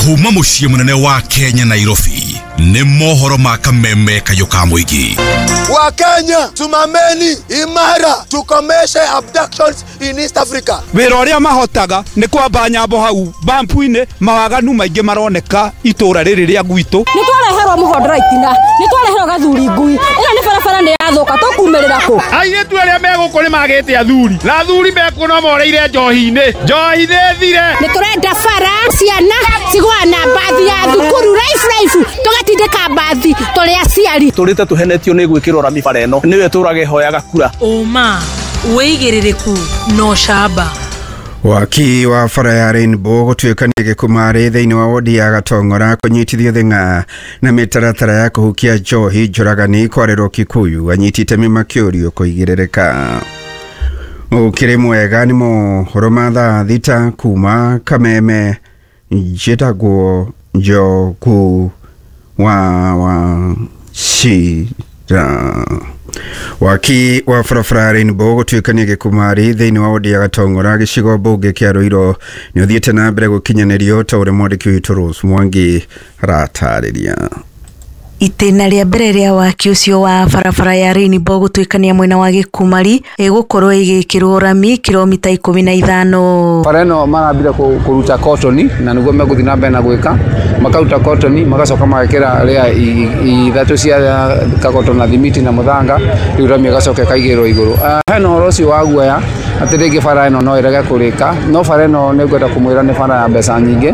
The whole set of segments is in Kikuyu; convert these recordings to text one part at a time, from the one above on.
Kuma mũciĩ mũnene wa Kenya, Nairobi, nĩ mohoro ma kameme kayũ ka mũingĩ. Wakenya, simameni imara, tukomeshe abductions in East Africa. Wĩra ũrĩa mahotaga nĩ kwamba nyambo hau bampu-inĩ. Mawaganu maingĩ maroneka itũra rĩrĩ rĩa gwitũ. Nĩ twareherwo mũhondora itina, nĩ twareherwo gathuri ngui. Ĩno nĩ barabara nĩ yathũka, tũkumĩrĩra kũ? Airĩtu arĩa me gũkũ nĩ magĩte athuri, na athuri mekuo no moreire njohi-inĩ. Njohi nĩ thire. Nĩ tũrenda bara, ciana cigũa na mbathi ya thukuru raifu raifu, tũgatindĩka mbathi tũrĩ aciari. Tũrĩte tũhenetio nĩ gwĩkĩrwo rami bara ĩno nĩyo ĩtũraga ĩhoyaga kura. Ũma, wĩigĩrĩrĩku na ũcamba. Waki wa bara ya Rainbow gũtuĩkania gĩkumarĩ thĩinĩ wa wodi ya Gatong'ora kũnyitithio thing'a na mĩtaratara ya kũhukia njohi. Njũragani kwarĩrwo Kikuyu, anyiti itemi makĩũrio kũigĩrĩrĩka. Ũkĩrĩ mwega, nĩ mohoro ma thaa 6 kuma Kameme. Njĩtagwo Njogu wa Wachira. Waki wa barabara Rainbow gũtuĩkania gĩkumarĩ thĩinĩ wa wodi ya Gatong'ora, gĩcigo mbunge kĩa Ruiru, nĩ ũthiĩte na mbere gũkinyanĩrio ta ũrĩa mwandĩki witũ Rose Mwangi aratarĩria. Itĩna rĩa mbere rĩa waki ũcio wa barabara ya Rainbow gũtuĩkania mwena wa Gĩkumari ĩgũkorwo ĩgĩkĩrwo rami kilomita 15. Bara ĩno marambire kũruta kotoni na nĩguo megũthiĩ na mbere na gwĩka, makaruta kotoni, magacoka magekĩra rĩa ithatũ cia kagoto na thimiti na mũthanga, rĩu rami ĩgacoka ĩkaigĩrĩrwo igũrũ. Hena ũhoro ũcio wa guoya atĩ rĩngĩ bara ĩno no ĩrege kũrĩka, no bara ĩno nĩ ngwenda kũmwĩra nĩ bara ya mbeca nyingĩ,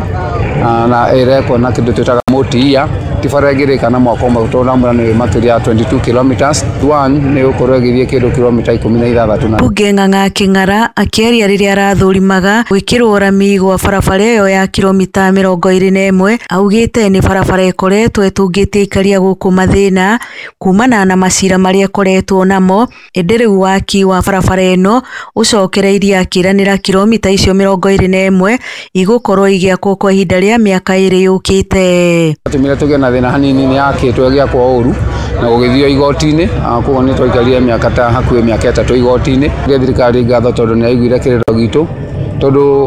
na ĩrekwo na kĩndũ twĩtaga multi-year, ti bara ĩngĩrĩka na mwaka ũmwe, tondũ ndamwĩra nĩ makĩria ya 22 kilometers one, nĩ gũkorwo ĩgĩthiĩ kĩndũ kilomita 16 na Mbunge Ng'ang'a Kĩng'ara akĩaria rĩrĩa arathũrimaga gwĩkĩrwo rami gwa barabara ĩyo ya kilomita 21, augĩte nĩ barabara ĩkoretwo ĩtũngĩtie aikaria gũkũ mathĩna kumana na macira marĩa ĩkoretwo namo, ĩndĩ rĩu waki wa barabara ĩno ũcokereirie, akĩranĩra kilomita icio 21 igũkorwo igĩakwo kwa ihinda rĩa mĩaka 2 yũkĩte. Tũmire tũgĩe na thĩna hanini, nĩ yakĩtwo ĩgĩakwo ũru na gũgĩthio igoti-inĩ, koguo nĩ twaikarire mĩaka ta hakuhĩ mĩaka 3 igoti-inĩ. Thirikari ngatho tondũ nĩ yaiguire kĩrĩro gitũ, tondũ